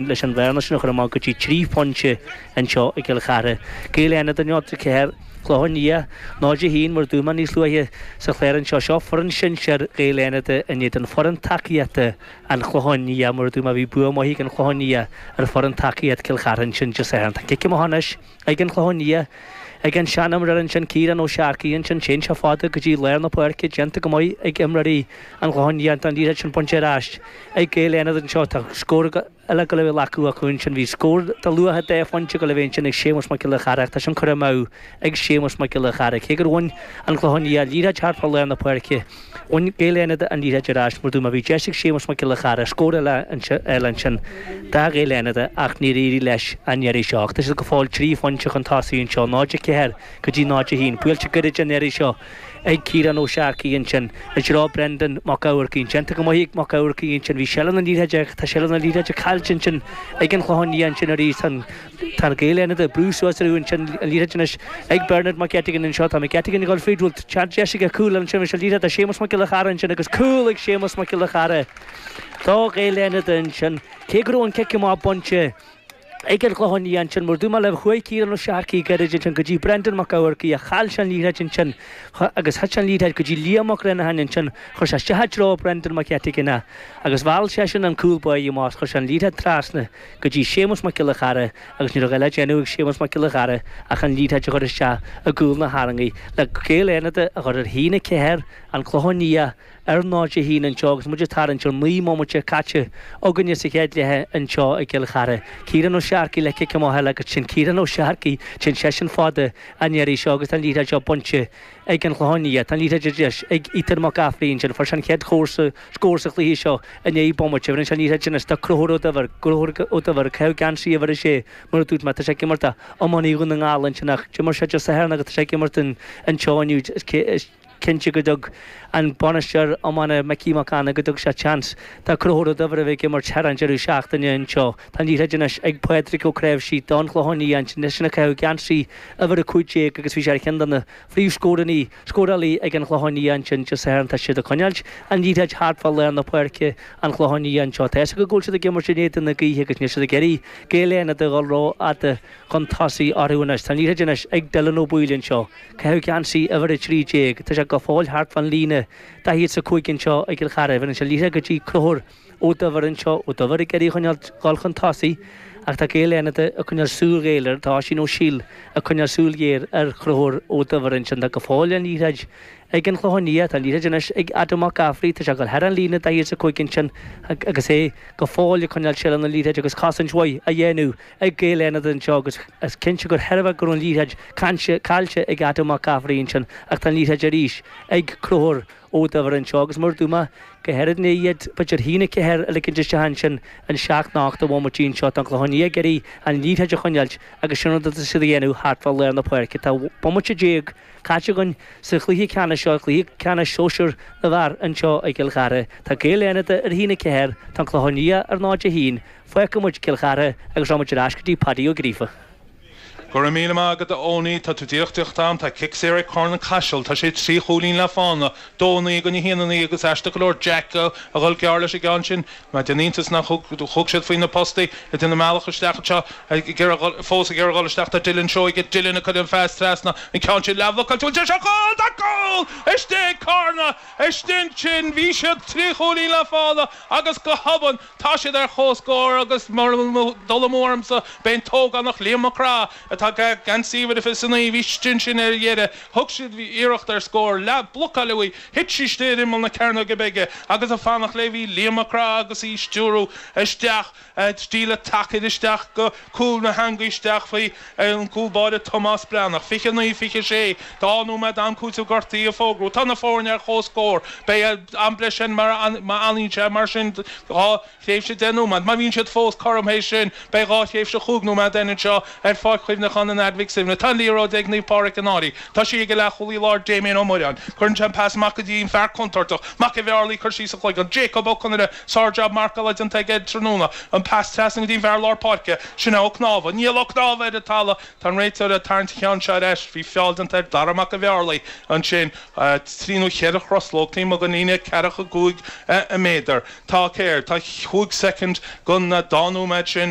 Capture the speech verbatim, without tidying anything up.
Leis an bhearna sin a chur amach go dtí trí phointe anseo i gCill Chartha. Gaeil Fhánada náid a ceathair, Clochán Liath náid a haon mar a dúirt mé níos luaithe sa chlár anseo. Seo foireann sinsir Ghaeil Fhánada in éadan foireann tacaíochta an Chlocháin Liath. Mar a dúirt mé bhí bua maith ag an Chlochán Liath ar foireann tacaíocht Cill Chartha ansin Dé Sathairn. Tá cic amach anois ag an Chlochán Liath ag an seanimreoir ansin Ciarán Ó Searcaigh ansin. Téann sé fada go dtí lár na páirce, déanta go maith ag imreoirí an Chlocháin Liath. Tá an liathróid sin bainte ar ais ag Gaeil Fhánada anseo. Tá scór eile ag dul a bheith glactha acu ansin. Bhí scór de luach dhá phointe ag dul a bheith ansin ag Séamus Mac Giolla Chara ach tá sin curtha amú ag Séamus Mac Giolla Chara. Cé gur bhain an Clochán Liath liathróid thart fá lár na páirce, bhain Gaeil Fhánada an liathróid ar ais mar dúirt mé bhí deis ag Séamus Mac Giolla Chara scór eile ansin do Ghaeil Fhánada ach níor éirigh leis an iarraidh seo. Ach tá siad go fóill trí phointe chun tosaigh anseo, náid a ceathair go dtí náid a haon. Buailte gairid an iarraidh seo ag Ciarán Ó Searcaigh ansin i dtreo Brendan Mac Eamharcaigh. Déanta go maith ag Mac Eamharcaigh ansin. Bhí seilbh na liathróide ach tá seilbh na liathróide caillte ansin ag an Chlochán Liath ansin arís. Tá Gaeil Fhánada ag brú suas orthu ansin. An liathróid anois ag Bernard McGettigan anseo. Tá McGettigan ag dul fríd. Bhfuil deis aige cúl ansin. Bhí an liathróid ag Séamus Mac Giolla Chara ansin agus cúl ag Séamus Mac Giolla Chara do Ghaeil Fhánada ansin. Cé go raibh an cic amach bainte ag an Chlochán Liath ansin, mar dúirt mé libh, chuaigh Ciarán Ó Searcaigh gairid ansin go dtí Brendan Mac Eamharcaigh ach chaill sé an liathróid ansin agus thit an liathróid go dtí Liam Mac Reannacháin ansin, chuir sé isteach i dtreo Brendan McGettigan é agus mheall seisean an cúl báire amach, chuir sé an liathróid trasna go dtí Séamus Mac Giolla Chara agus ní raibh a dhath le déanamh ag Séamus Mac Giolla Chara ach an liathróid a chur isteach i gcúl na heangaí le Gaeil Fhánada a chur ar haon a ceathair, an Clochán Liath ar náid a haon anseo agus muid ag tarraingt ar naoi mbomaite caite againne sa chéad leath anseo i gCill Chartha. Ciarán Ó Searcaigh le cic amach eile agus sin Ciarán Ó Searcaigh, téann seisean fada an iarraidh seo agus tá an liathróid seo bainte ag an Chlochán Liath. Tá an liathróid arís ag Ethan Mac Gafraidh ansin. Fuair sé an chéad scór sa chluiche seo i ndiaidh bomaite. Bheireann sé an liathróid anois do Conchúr Ó Duibhir. Conchúr Ó Duibhir ag caitheamh geansaí uimhir a sé mar a dúirt mé. Tá sé ag imirt do iománaí Dhún na nGall ansin ach d'imir sé Dé Sathairn agus tá sé ag imirt anseo inniu. Is cinnte go dtug an bainisteoir iomána Micí Mac Annaidh go dtug sé seans do Chonchúr Ó Duibhir a bheith ag imirt thar an deireadh seachtaine anseo. Tá an liathróid anois ag Pádraig Ó Cnáimhsí don Chlochán Liath ansin, eisean ag caitheamh geansaí uimhir a cúig déag agus bhí sé ar cheann de na phríomhscórannaí, scórálaí ag an Chlochán Liath ansin Dé Sathairn. Tá siad ag coinneáilt an liathróid thart fá lár na páirce an Chlocháin Liath anseo. Tá fhios acu go bhfuil siad ag imirt in éadan na gaoithe agus níl siad ag iarraidh Gaeil Fhánada a dhul rófhada chun tosaigh orthu anois. Tá an liathróid anois ag Dylan Ó Baoill anseo. Caitheamh geansaí uimhir a trí déag. Tá sé go fóill thart fán líne daichead is a cúig anseo i gCill Chartha. Bheireann sé an liathróid go dtí Conchúr Ó Duibhir anseo. Ó Duibhir ag iarraidh choinneáil dhul chun tosaigh ach tá Gaeil Fhánada ag coinneáil súil ghéar air. Tá Oisín Ó Siail ag coinneáil súil ghéar ar Chonchúr Ó Duibhir ansin. Tá go fóill an liathróid ag an Chlochán Liath. Tá an liathróid anois ag Adam Mac Gafraidh. Tá sé ag dul thar an líne daichead is a cúig ansin agus é go fóill ag coinneáil seilbh na liathróide agus cosaint mhaith á dhéanamh ag Gaeil Fhánada anseo agus is cinnte gur thairbhe go raibh an liathróid caillte ag Adam Mac Gafraidh ansin ach tá an liathróid arís ag Conchúr Ó Duibhir anseo agus mar a dúirt mé go háirid i ndiaidh b'fhéidir haon a ceathair a ligint isteach ansin in seacht nó ocht de bhomaití anseo. Tá an Clochán Liath ag iarraidh an liathróid a choinneáilt agus sin rud atá siad a dhéanamh thart fá lár na páirce. Tá bomaite déag caite againn sa chluiche ceannais seo, cluiche ceannais sóisir na bhfear anseo i gCill Chartha. Tá Gaeil Fhánada ar haon a ceathair, tá an Clochán Liath ar náid a haon. Fágfaidh muid Cill Chartha agus rachaidh muid ar ais go dtí Paddy Ó Gríofa. Go raibh míle maith agat a Owenie, tá tú díreach díreach am, tá cic saor ag Carna Caiseal, tá sé trí chúilín le fána, dó a naoi i gcoinne a haon a naoi agus aisteach go leor Jack a dhul gearr leis an gceann sin. Má déan iontas nach thug siad faoi na postaí ag déanamh a mbealach isteach anseo ag iarraidh fós ag iarraidh dhul isteach tá Dylan Seoige, Dylan ag cur an phas trasna an ceann sin leathbhlocáilte bhfuil sé seo cúl tá cúl istigh ag Carna istigh ansin bhí siad trí chúilín le fána agus go hobann tá siad ar comhscór agus mura bhfuil dul amú ormsa b'é an t-ógánach Liam Mac Craith atá ag geansaí uimhir a fiche is a naoi bhí istigh ansin ar dheireadh thug siad iarracht ar scór leath blocáil uaidh thit sí istigh ar imeall na cearnóige bige agus ag fanacht léi bhí Liam Mac Craith agus í stiúradh isteach stíle tacair isteach go cúl na heangaí isteach faoi an cúl báire Tomás Breathnach. fiche naoi fiche sé Dhá nóiméad am cúiteamh gortaithe a fógrú. Tá na foirne ar comhscór. Beidh am breise ann má fhanann sé mar sin dhá thréimhse deich nóiméad. Má bhíonn siad fós cothrom théis sin, beidh dhá thréimhse chúig nóiméad ann anseo ar Pháirc Chuimhneacháin. Muineachán a náid Mhic Suibhne. Tá an liathróid ag Naomh Pádraig an Fhairche. Tá sí ag a leathchúlaí láir Damien Ó Muireáin. Cuireann sé an pas amach go dtí an fear contúirteach, Mac an Bhearlaí, cur síos a chloigeann. Jacob Ó Conaire, sár-jab marcála déanta aige tráthnóna. An pas trasna go dtí an fear lár páirce, sin é Ó Cnámha. Níl Ó Cnámha ar an talamh. Tá an réiteoir ag tarraingt an cheann seo ar ais. Bhí feall déanta ar Dara Mac an Bhearlaí ansin. Trí nó cheithre thruslóg taobh amuigh den líne ceathracha cúig méadar. Tá céard? Tá chúig soicind den dá nóiméad sin.